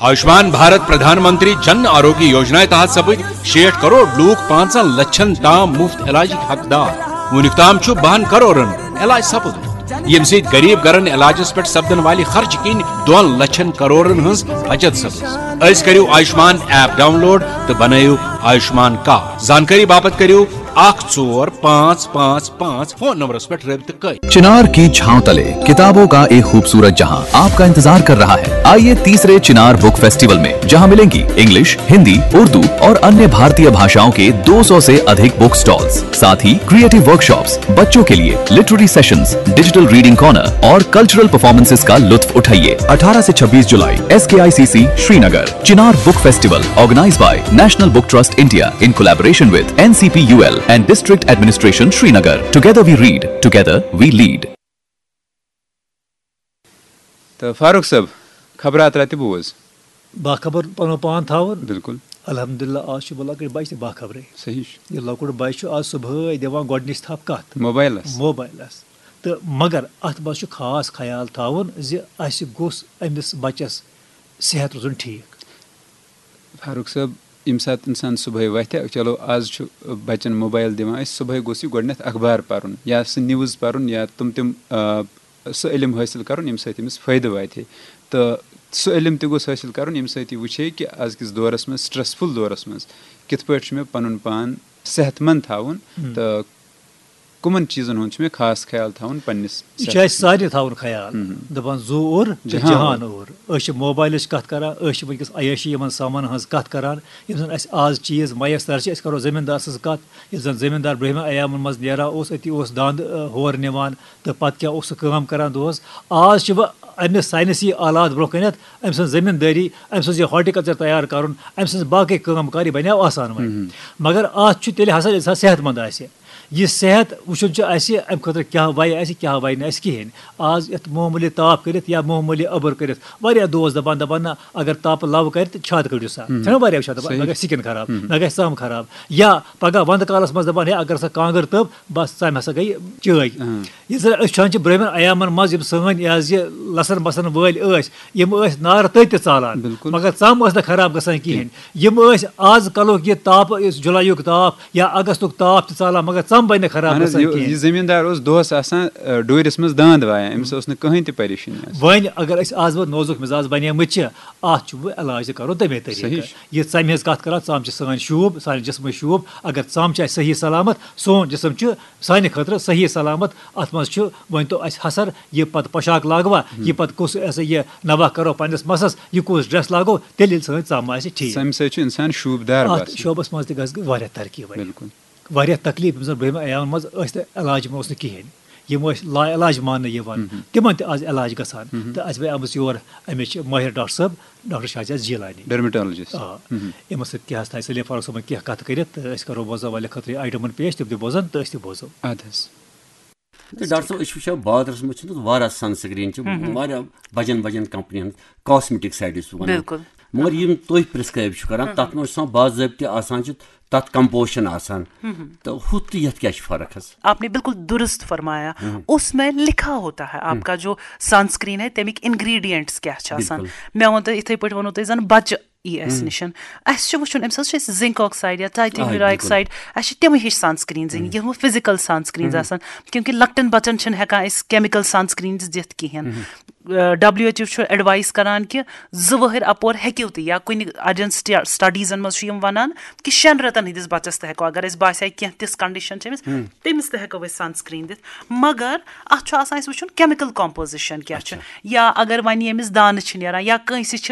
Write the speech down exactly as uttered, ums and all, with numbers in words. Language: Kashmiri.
آیوشمان بھارت پردھان منتری جن آروگیہ یوجنا تحت سپد شیٹھ کروڑ لوک پانژن لچھن تام مفت علاجک حقدار۔ وُنیُک تام چھُ بہن کروڑن علاج سپدمُت، ییٚمہِ سۭتۍ غریب گرن علاجس پٮ۪ٹھ سپدن والہِ خرچہٕ کِنۍ دۄن لچھن کروڑن ہٕنٛز بچت سپٕز۔ أزۍ کٔرِو آیوشمان ایپ ڈاؤن لوڈ تہٕ بنٲیِو آیوشمان کارڈ۔ زانکٲری باپتھ کٔرِو اکھ ژور پانٛژھ پانٛژھ پانٛژھ فون نمبرس پٮ۪ٹھ رٲبطہٕ کٔرِتھ۔ چنار کی چھاؤں تلے کتابوں کا ایک خوبصورت جہاں آپ کا انتظار کر رہا ہے۔ آئیے تیسرے چنار بک فیسٹیول میں، جہاں ملیں گی انگلش، ہندی، اردو اور अन्य भारतीय भाषाओं के दो सौ से अधिक बुक स्टॉल्स, साथ ही क्रिएटिव वर्कशॉप्स, बच्चों के लिए literary sessions, digital reading corner और कल्चरल परफॉर्मेंसेस का लुत्फ उठाइए। अठारह से छब्बीस जुलाई, S K I C C Srinagar. Chinar book festival, organized by National Book Trust India in collaboration with N C P U L and District Administration Srinagar. Together we read, together we lead. تہٕ فاروق صٲب، خبرات رَتہِ بوز۔ باخبر پنُن پان تھاوُن۔ بِلکُل۔ الحمدللہ، آز چھُ بہٕ لۄکٕٹۍ بَچہِ تہِ باخبرٕے۔ صحیح چھُ۔ یہِ لۄکُٹ بَچہِ چھُ آز صُبحٲے دِوان گۄڈٕنِچ تھپھ کَتھ؟ موبایلَس۔ موبایلَس۔ تہٕ مگر اَتھ منٛز چھُ خاص خیال تھاوُن زِ اَسہِ گوٚژھ أمِس بَچَس صحت روزُن ٹھیٖک۔ فاروق صٲب، ییٚمہِ ساتہٕ اِنسان صُبحٲے وۄتھِ، چلو، آز چھُ بَچَن موبایل دِوان أسۍ، صُبحٲے گوٚژھ یہِ گۄڈٕنٮ۪تھ اخبار پَرُن یا سُہ نِوٕز پَرُن یا تِم تِم، آ، سُہ علم حٲصِل کَرُن، ییٚمہِ سۭتۍ أمِس فٲیدٕ واتہِ۔ تہٕ سُہ علم تہِ گوٚژھ حٲصِل کَرُن، ییٚمہِ سۭتۍ یہِ وٕچھِ ہے کہِ أزکِس دورَس منٛز، سٹرٛسفُل دورَس منٛز، کِتھ پٲٹھۍ چھُ مےٚ پَنُن پان صحت مند تھاوُن تہٕ کَمَن چیٖزَن ہُنٛد چھُ مےٚ خاص خیال تھاوُن پنٛنِس؟ یہِ چھُ اَسہِ سارنٕے تھاوُن خیال۔ دَپان، زُو اوٚر تہٕ جہان جہان اوٚر۔ أسۍ چھِ موبایلٕچ کَتھ کَران، أسۍ چھِ وٕنکیٚس عیٲشی یِمَن سامانَن ہٕنٛز کَتھ کَران، یِم زَن اَسہِ آز چیٖز میسر چھِ، أسۍ کَرو زٔمیٖندار سٕنٛز کَتھ۔ یُس زَن زٔمیٖندار برٛونٛہمٮ۪ن ایامَن منٛز نیران اوس، أتی اوس دانٛد، آ، ہور نِوان تہٕ پَتہٕ کیٛاہ اوس سُہ کٲم کَران دۄہَس۔ آز چھِ وۄنۍ اَمہِ ساینسی آلات برٛونٛہہ کَنٮ۪تھ، أمۍ سٕنٛز زٔمیٖندٲری، أمۍ سٕنٛز یہِ ہارٹیکلچر تیار کَرُن، أمۍ سٕنٛز باقٕے کٲم کار، یہِ بَنیو آسان وۄنۍ۔ مگر اَتھ چھُ تیٚلہِ حسن اِنسان صحت مند آسہِ۔ یہِ صحت وٕچھُن چھُ اَسہِ، اَمہِ خٲطرٕ کیٛاہ وَیہِ اَسہِ، کیٛاہ وَیہِ نہٕ اَسہِ کِہیٖنۍ۔ آز یَتھ معموٗلی تاپھ کٔرِتھ یا معموٗلی أبٕر کٔرِتھ، واریاہ دوس دَپان، دَپان، نہ، اگر تاپہٕ لَو کَرِ تہٕ چھاتہٕ کٔڑِو سا۔ چھَنہ واریاہ وٕچھان دَپان، مےٚ گژھِ سِکِن خراب، مےٚ گژھِ ژَم خراب۔ یا پَگاہ وَندٕ کالَس منٛز دَپان، ہے، اگر سا کانٛگٕر تٔب، بَس، ژَمہِ ہسا گٔے چٲے۔ یہِ زَن أسۍ وٕچھان چھِ برٛونٛہمٮ۪ن ایامَن منٛز یِم سٲنۍ یہِ حظ یہِ لَسَن بَسَن وٲلۍ ٲسۍ، یِم ٲسۍ نارٕ تٔتۍ تہِ ژالان، بِلکُل۔ مگر ژَم ٲس نہٕ خراب گژھان کِہیٖنۍ۔ یِم ٲسۍ آز کَلُک یہِ تاپہٕ، یُس جُلایُک تاپ یا اگستُک تاپ تہِ ژالان، مگر ژَم بَنہِ نہٕ خراب اہن حظ، گژھان یہِ کِہیٖنۍ۔ یہِ زٔمیٖندار اوس دۄہَس آسان، آ، ڈوٗرِس منٛز دانٛد وایان، أمِس ٲس نہٕ کٕہٕنۍ تہِ پریشٲنی آسان۔ وۄنۍ اگر أسۍ آز وۄنۍ نوزُک مِزاز بَنیمٕتۍ چھِ، اَتھ چھُ وۄنۍ علاج تہِ کَرُن تَمے طریٖقہٕ۔ صحیح چھُ۔ یہِ ژَمہِ ہٕنٛز کَتھ کَران، ژَم چھِ سٲنۍ شوٗب، سانہِ جِسمٕچ شوٗب۔ اگر ژَم چھِ اَسہِ صحیح سلامت، سون جِسم چھُ سانہِ خٲطرٕ صحیح سلامت۔ اَتھ منٛز چھُ، ؤنۍ تو اَسہِ حسر، یہِ پَتہٕ پوشاک لاگوا، یہِ پَتہٕ کُس، یہِ سا یہِ نَبہ کَرو پنٛنِس مَسَس، یہِ کُس ڈرٛٮ۪س لاگو، تیٚلہِ ییٚلہِ سٲنۍ ژَم آسہِ ٹھیٖک۔ ژَمہِ سۭتۍ چھُ اِنسان شوٗبدار اَتھ باسان۔ شوبَس منٛز تہِ گژھِ واریاہ ترقی وۄنۍ۔ بِلکُل۔ واریاہ تکلیٖف، ییٚمہِ ساتہٕ برٛونٛہمہِ ایامَن منٛز ٲسۍ نہٕ علاج، یِمَن اوس نہٕ کِہیٖنۍ۔ یِم ٲسۍ لا علاج ماننہٕ یِوان۔ تِمَن تہِ آز علاج گژھان۔ تہٕ اَسہِ وۄنۍ آمٕژ یور اَمِچ مٲہِر ڈاکٹر صٲب، ڈاکٹر شاہجاز جیلانی۔ ڈرمیٹالوجسٹ۔ آ۔ یِمَن سۭتۍ کیٛاہ آسہِ، سلیٖم فاروق صٲبَن کینٛہہ کَتھٕ کٔرِتھ، تہٕ أسۍ کَرو بوزَن والٮ۪ن خٲطرٕ یہِ آیٹَمَن پیش، تِم تہِ بوزَن تہٕ أسۍ تہِ بوزو۔ اَدٕ حظ۔ تہٕ ڈاکٹر صٲب، أسۍ چھِ وٕچھان بازرَس منٛز چھِنہٕ واریاہ سَن سِکریٖن چھِ واریاہ بَجَن بَجَن کَمپنی ہٕنٛز، کاسمیٹک سایڈ یُس وَنان۔ بِلکُل۔ مگر یِم تُہۍ پرٛسکرایب چھِو کَران، تَتھ منٛز چھُ آسان باضٲبطہٕ آسان چھِ تَتھ کمپوزشن آسان۔ تہٕ ہُتھ تہٕ یَتھ کیٛاہ چھِ فرق حظ؟ آپ نے بالکل درست فرمایا۔ اس میں لکھا ہوتا ہے آپ کا جو سنسکرین ہے، تَمِکۍ انگریڈینٹس کیٛاہ چھِ آسان۔ بالکل۔ مےٚ ووٚن تۄہہِ، یِتھَے پٲٹھۍ ووٚنوُ تۄہہِ زَن بَچہٕ یی اَسہِ نِش۔ اَسہِ چھُ وٕچھُن، أمِس حظ چھِ اَسہِ زِنکاکسایڈ یا ٹایٹینیم آ، یوٗرا بِلکُل۔ آکسایڈ، اَسہِ چھِ تِمَے ہِش سنسکریٖنز أنۍ، یِم فِزیکل سنسکریٖنز آسان، کیونکہ لۄکٹٮ۪ن بَچَن چھِنہٕ ہٮ۪کان أسۍ کیمیکل سنسکریٖنز دِتھ کِہیٖنۍ۔ ڈبلیو ایچ او چھُ ایڈوایز کران کہِ زٕ ؤہٕرۍ اپور ہیٚکِو تُہۍ، یا کُنہِ اَڑٮ۪ن سٹیڈیٖزن منٛز چھُ یِم وَنان کہِ شٮ۪ن رٮ۪تن ہٕنٛدِس بَچَس تہِ ہٮ۪کو، اگر اَسہِ باسہِ ہا کینٛہہ تِژھ کنڈیشن چھِ أمِس، تٔمِس تہِ ہٮ۪کو أسۍ سنسکریٖن دِتھ۔ مگر اَتھ چھُ آسان اَسہِ وٕچھُن کیمِکل کمپوزیشن کیٛاہ چھُ، اچھا۔ یا اگر وۄنۍ ییٚمِس دانہٕ چھِ نیران یا کٲنٛسہِ چھِ